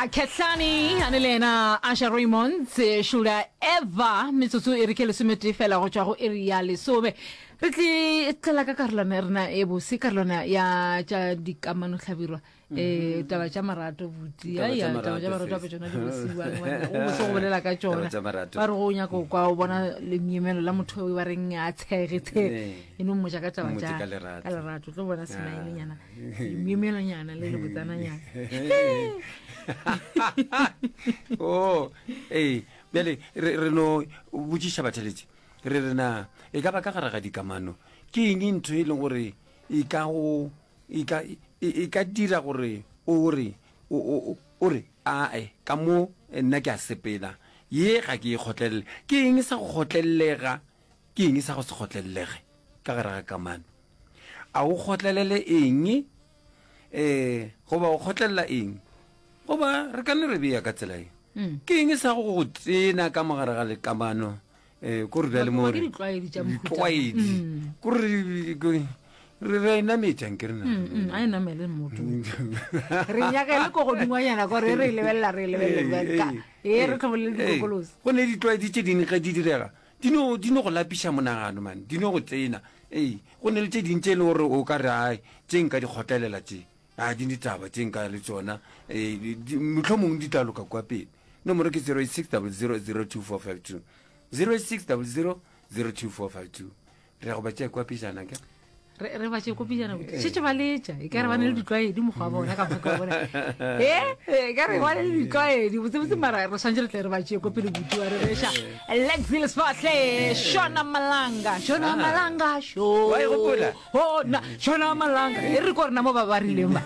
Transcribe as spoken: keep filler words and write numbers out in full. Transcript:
Kehlani a ne le yena Asha Raymond Should I Ever metsotso e re ke lesometee fela go tšwa go iri ya lesome re tle tlela ka karolwana ya rena e bose karolwana ya tša dikamano hlabirwa um taba tša marato buti Taba tša Ai, taba tša marato, marato sis. ape tšona di bosiwa go bose go bolela ka Taba tšona tša marato. ba re go nyaka go kwa o bona lemyemelo la motho o ba reng a tshege tshege Ee. e no mmotša ka taba Mmotse tša ka lerato. ka lerato o tlo bona smile-nyana lemyemelonyana le lebotsananyana o ee bjale re re no botšiša batheletši re re na e ka ba ka gare ga dikamano ke eng ntho e leng gore e ka go e ka e e ka dira gore o re o o o re ae ka mo eh, nna ke a sepela ye ga ke e kgotlelele ke eng sa go kgotlelelega ke eng sa go se kgotlelelege ka gare ga kamano a o kgotlelele eng eh goba o kgotlelela eng goba re ka no re bea ka tsela e Mm. ke eng sa go go tsena ka mogare ga lekamano um ko re bjale mo Ke re- ditlwaedi tša mohuta. ditlwaedi Mm. ko re ko- re re a inametšang ke rena Mm, mm, a e namele motho re nyaka e le ko godingwanyana kore re e lebelela re e lebelela ka ee re tlhobolele dikokolosi go ne ditlwaedi tše dingwe ge di direga di no di no go lapiša monagano mane di no go tsena ee go ne le tše dingwe tše e leng gore o ka re ai tše nka di kgotlelela tše a di ditaba tše nka le tsona ee motlho mongwe di tla loka kua pele nomoro ke zero eight six double zero zero two four five two zero eight six double zero zero two four five two re ya go ba tšea kua pejana ke re re ba tše kopijana botse šetse ba letša e ka re ba ne le ditlwaedi mokgwa wa bona ka mokgwa wa bona e e ka re ba ne le ditlwaedi botsebotse mara re swantse re tle re ba tšee ko pele buti wa re reša Lexi Lesfahle Shona Malanga Shona Malanga sho Wa e gopola? oh na Shona Malanga e re ko rena mo ba ba rileng ba